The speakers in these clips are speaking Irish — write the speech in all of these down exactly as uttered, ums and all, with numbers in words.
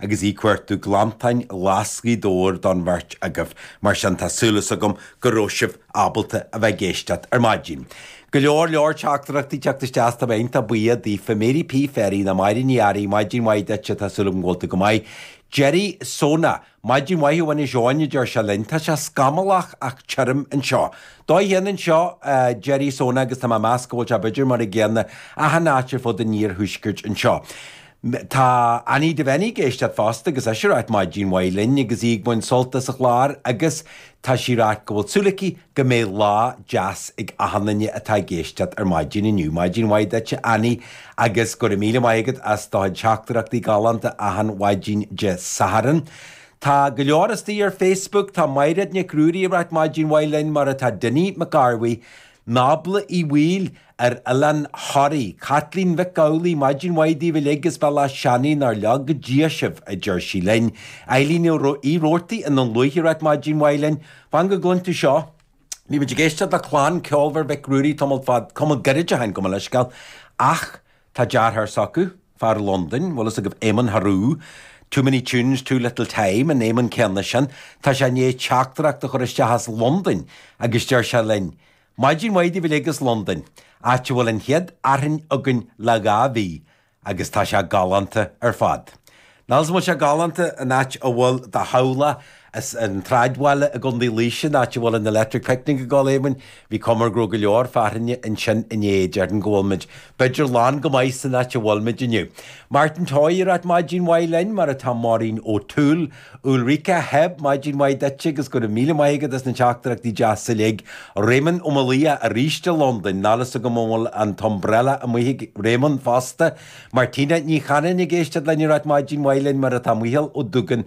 agus í cuartú glantáin ghlas Ghaoth Dobhair don bheirt agaibh, mar sin tá súil agam go raibh sibh ábalta a bheith ag éisteacht ar maidin. Go leor leor teachtaireachtaí teacht isteach tá iontach buíoch daofa Mary P Ferry na Máire Ní Fhearraigh, maidin mhaith duit tá súil agam go bhfuil tú go maith. Jerry Sona, maidin mhaith ó Inis Eoghain a deir sé linn, tá sé scamallach ach tirim anseo. Dóigh chéanna anseo uh, Jerry Sona agus tá meas go bhfuil sé b'fhéidir mar a gcéanna achan áit ar fud an iarthuaiscirt anseo. Tá Annie Devenny ag éisteacht fosta agus ise ag ráit maidin mhaith linn agus í ag baint sult as an chlár agus tá sí ag rá go bhfuil súil aici go mbeidh lá deas ag achan duine atá ag éisteacht ar maidin inniu. Maidin mhaith duit Annie agus go raibh míle maith agat as do theachtaireachtaí galánta achan mhaidin Dé Sathairn. Tá go leor istigh ar Facebook tá Mairéad Nic Ruairí ag ráit maidin mhaith linn mar atá Dinny McGarvey, Nábla í bhfuil ar Oileán Thoraí, Kathleen Mhic Gabhlaí maidin mhaith daoibh uilig agus bealach seanaí nár leag go Dia sibh a deir sí linn. Eileen í Roarty in an luaithe ag ráit maidin mhaith linn, Fan go gcluin tú seo. Bhí muid ag éisteacht le clann ceolmhar Mhic Ruairí tamall fad tamall gairid ó shin go mba leisceal ach tá deartháir s'acu fear Londain, bhfuil fhios agaibh Éamonn Harú, Too many tunes, too little time an Éamonn céanna sin, Tá sé i ndiaidh teachtaireacht a chur isteach as Londain agus deir sé linn. Maidin mhaith daoibh uilig as Londain, áit a bhfuil an chéad fhearthainn againn le dhá mhí agus tá sé galánta ar fad. Níl bhfuil sé galánta an áit a bhfuil do theaghlach as an tsráidbhaile i gContae Laoise an áit a bhfuil an Electric Picnic ag dul Éamonn, bhí cumar go go leor fearthainne ansin inné déarfainn go bhfuil muid b'fhéidir lán go maith san áit a bhfuil muid inniu. Martin Toy ag ráit maidin mhaith linn mar atá Maureen O'Toole, Ulrika Heb maidin mhaith duit agus go raibh míle maith agat as na teachtaireachtaí deasa uilig. Raymond Ó Malia arís i Londain, níl fhios agam an bhfuil an t-umbrella amuigh ag Raymond fosta. Martina Ní Chanainn ag éisteacht linn ag ráit maidin mhaith linn mar atá Micheál Ó Dúgan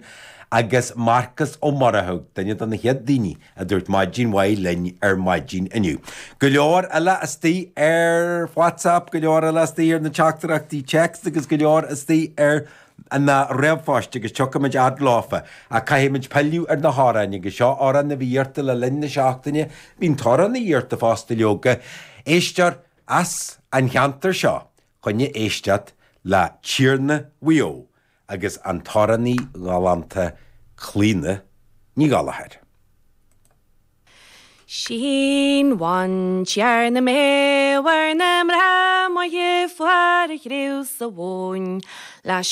agus Marcus Ó Murchú, duine de na chéad daoine a dúirt maidin mhaith linn ar maidin inniu. Go leor eile istigh ar WhatsApp, go leor eile istigh ar na teachtaireachtaí text agus go leor istigh ar na ríomhphoist agus tiocfaimid fhad leofa a caithfimid pilleadh ar na hamhráin agus seo amhrán a bhí iarrta le linn na seachtaine, bhí'n t-amhrán iarrta fosta leoga, éisteoir as an cheantar seo chun éisteacht le Tiarna Mhaigh Eo agus an t-amhránaí galánta Clíona Ní Ghallchóir. Sin bhain na mé war na mra mo fuar chriú sa bhain, leis